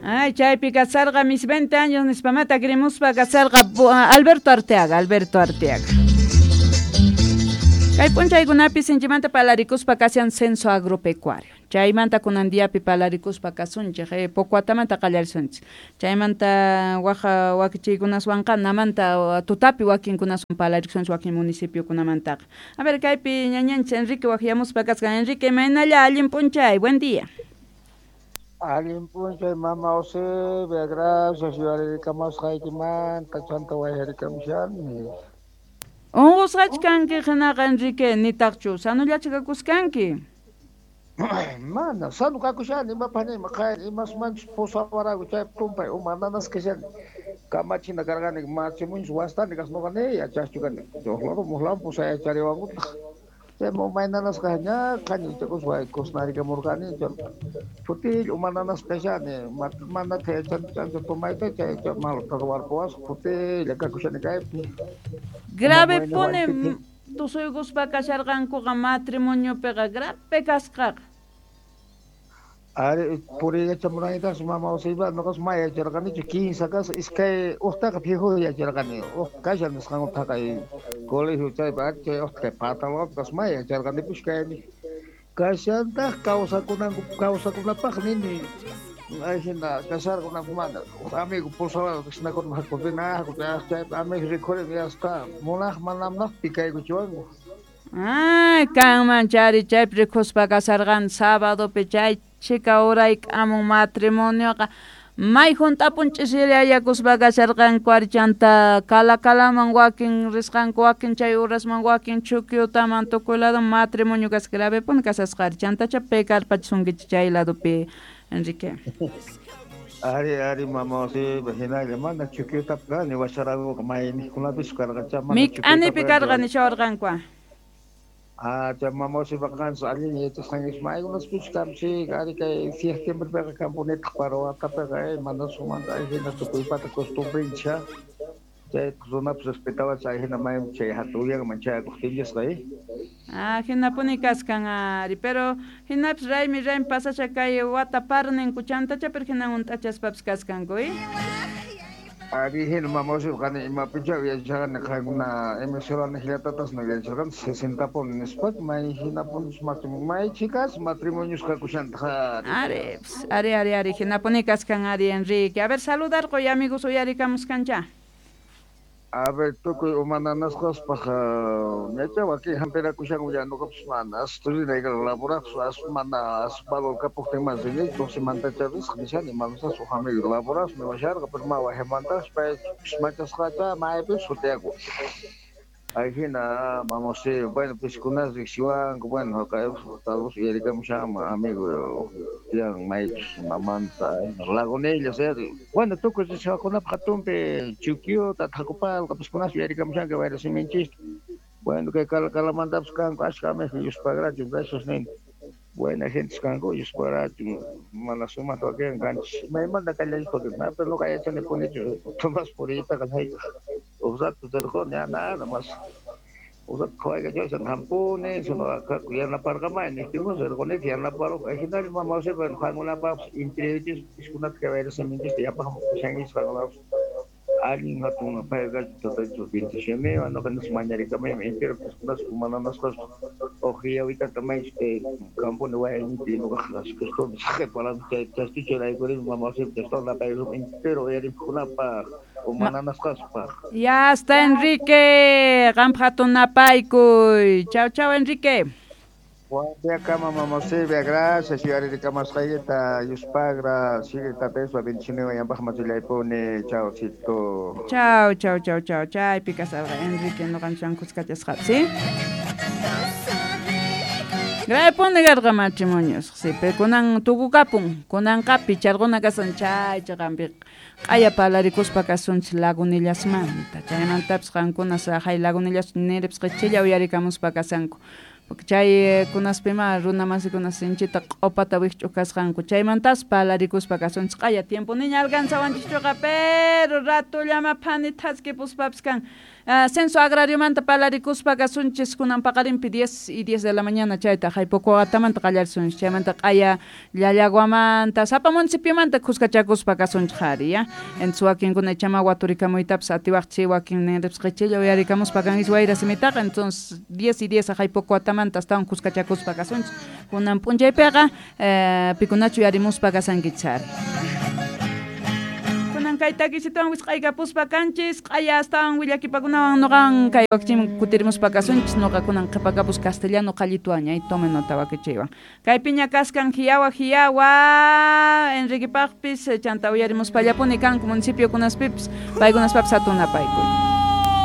Ay, chaypi kasarqa mis 20 años nispamata krimuspa kasarqa Alberto Arteaga, Alberto Arteaga. Kay p'unchaykunapi sinchimanta palarikuspa kashan censo agropecuario. Chaymanta kunan diapi palarikuspa kasunchej, poco watamanta qallarisunchik. Chaymanta waja wakichiykunaswanqa namanta tutapi wakinkunaswan palarisunchik wakin municipiokunamantaqa. A ver, kaypi ñañanchik Enrique waqyamuspa kasqan. Enrique, imaynalla allin p'unchay, buen día. Allin p'unchay mama Eusebia, gracias yuyarikamusqaykimanta chanta wayarikamushani. Unqusqachu kanki hinaqa Enrique, nitaqchu sanullachu kakuskanki? Mana, sanu kakushani, imapaq niyman qhayna imasmanchus pusawaraku chaypi tumpay uma nanasqa kashani. Kamachina karqani matrimonio wastani kasqa nuqa ni yachaqchu kani. Huk lado huk lado pusayachariwankutaq. Chaymi umay nanasqa ña qhañichakuspa kusnarikamurqani phutilla uma nanasqa kashani manataq yachanichu ancha tomayta chay malta ruwarpuwasqa phutilla kakushani kaypi. Grave puni tusuykuspa kasharqankuqa matrimoniopiqa grave kasqaqa. Ari puriykachamunaytas mama Eusebia nuqas may yacharqanichu kinsa kasqa iskay uqtaqa fijo yacharqani uq kashan nisqanku kay colegio chaypi ari chay uqta kay Patalwapi kas may yacharqanipis kayni kashantaq kawsakunanku kawsakunapaq nini ajina kasharqanku mana uq amigo pusawarqa kashnakurma haku rina haku chaypi amigo rikhurin yasqa munaq mana munaq pikaykuchiwanku. Ay, kanman chari chaypi rikhuspa kasarqan sabadopi chay chhika urayk'amun matrimonioqa may hunt'apun ch'isirayakuspa kasharqanku ari chanta Calacalaman wakin risqanku wakin chay urasman wakin Chuquiutaman tukuy lado matrimonio kasqa gravepuni kasasqa ari chantacha pekarpachisunkichik chay ladopi Enrique. Ari ari mama Eusebia hinalla mana Chuquiutapi kani washarakuqa mayniqkunapis karqacha mana Mik'anipi karqa nishawarqanku. Ah, chay mama Eusebia qanchis allin yachasqanchis maykunaspichu kamchik ari kay septiembrepiqa kampunitaq para watapiqa mana sumanta hina tukuypata costumbrenchik chay runapis respetawachik hina maymi chay hatun uyanman chayakuqtinchisqa. Ah, hinapuni kaskan ari, pero hinapis raymi raymi pasasha kay wata parninku chantacha pero hinan hunt'achaspapis kaskanku. Ari hina mama Eusebia qani imapicha yacharqani qankuna emisora niqllatatas yacharqani 60 puni nispa may hinapunis may chikas matrimonios kakushantaq ari. Ari, ari, ari, ari, hinapuni kaskan ari Enrique. A ver, saludarqoy amigos uyarikamuskancha. A ver, tukuy uma nanasqaspaq ñacha wakin hampirakushanku ya nuqapis mana as rinayqa laboraq as mana as valor kapuqtin mas rini 12 mantacha risqa nishani manasas uq amigo laboraq niwasharqa pero ma wajimantas pay machasqacha maypis sutiyaku. Ahí-hina vamos sí, bueno, piskunas riqsiwanku, bueno, tal vez uyarikamushanman amigo tiyan maychus mamanta Lagunillas, bueno, tukuy riqsiwaqkunapaq hatunpi Chuquiuta, Tacopalqa piskunas uyarikamushanku wayra siminchista. Bueno, kay Calacalamantapas kanku ashka amigos Yuspagrachu, gracias nini. Buena gente kanku Yuspagrachu, mana sumaqta wakin kanchis. Maymanta qallarishpa pero nuqa yachanipunichu Tomás puriytaqa hayk'aq uq rato rirquni nada más. Uq rato qhawaykachawashan hampuni yanaparqamay niqtinkus rirqunita yanaparuq hinalla mama Eusebia qankunapaqpas entrevistas piskunata kay wayra siminchista yapaqmi pushankichis qankunapas allin hatun payqa tatachu bendiciones nuqa nispa mañarikamaymi entero piskunas uma nanasqas uq yawitata maychus kay kampuni wayayninpi nuqaqa costumbre saqeparan chay chastuchuraykurini mama Eusebia napaykuspa entero uyarimuqkunapaq uma nanasqaspaq. Ya está Enrique, qampaq hatun napaykuy. Chau chau Enrique. Buen día kama mama Eusebia, gracias yuyarikamasqaykita Yuspagra, sigue tataypa bendiciones yanpaq machillaypuni, chaucito. Chau, chau, chau, chau, chaypi kasarqa Enrique nuqanchikwan kuskachasqapi, ¿sí? Grave karqa matrimonios, sí, pero kunan tukukapun, kunanqa picharquna kasan chay chaqanpi q'aya palarikuspa kasunchik Lagunillasmanta, chaymantapis qankuna saqay Lagunillas niripis qichilla uyarikamuspa kasanku. Porque chay kunaspima runa masikuna sinchita q'upata wikch'uq kasqanku chaymantas palarikuspa kasunchik q'aya tiempo niña alcanzawanchikchuqa pero ratullama phani thaskipuspapis kan. Censo agrariomanta palarikuspa kasunchis kunan paqarinpi 10 y 10 de la mañana chayta haypokuatamanta qallarisunchis chaymanta q'aya Llallaguamanta sapa municipiomanta khuskachakuspa kasunchis qhari ya. Entonces wakinkuna ichama waturikamuytapas atiwaqchis wakin ninripas qichilla uyarikamuspa kanchis wayra simitaqa entonces 10 y 10 haypokuatamanta astawan khuskachakuspa kasunchis kunan p'unchaypiqa pikunachu uyarimuspa kasankichis ari. Kunan kay takisituwan wisq'aykapuspa kanchis q'aya astawan willakipakunawan noqan kay wakichiman kutirimuspa kasunchis noqa kunan qhipakapus castellano qallituwan ñay tome nota wakichiywan. Kaypiña kaskan hiyawa hiyawa Enriquepaqpis chanta uyarimuspallapuni kanku municipiokunaspipis paykunaspapis hatunapaykuy.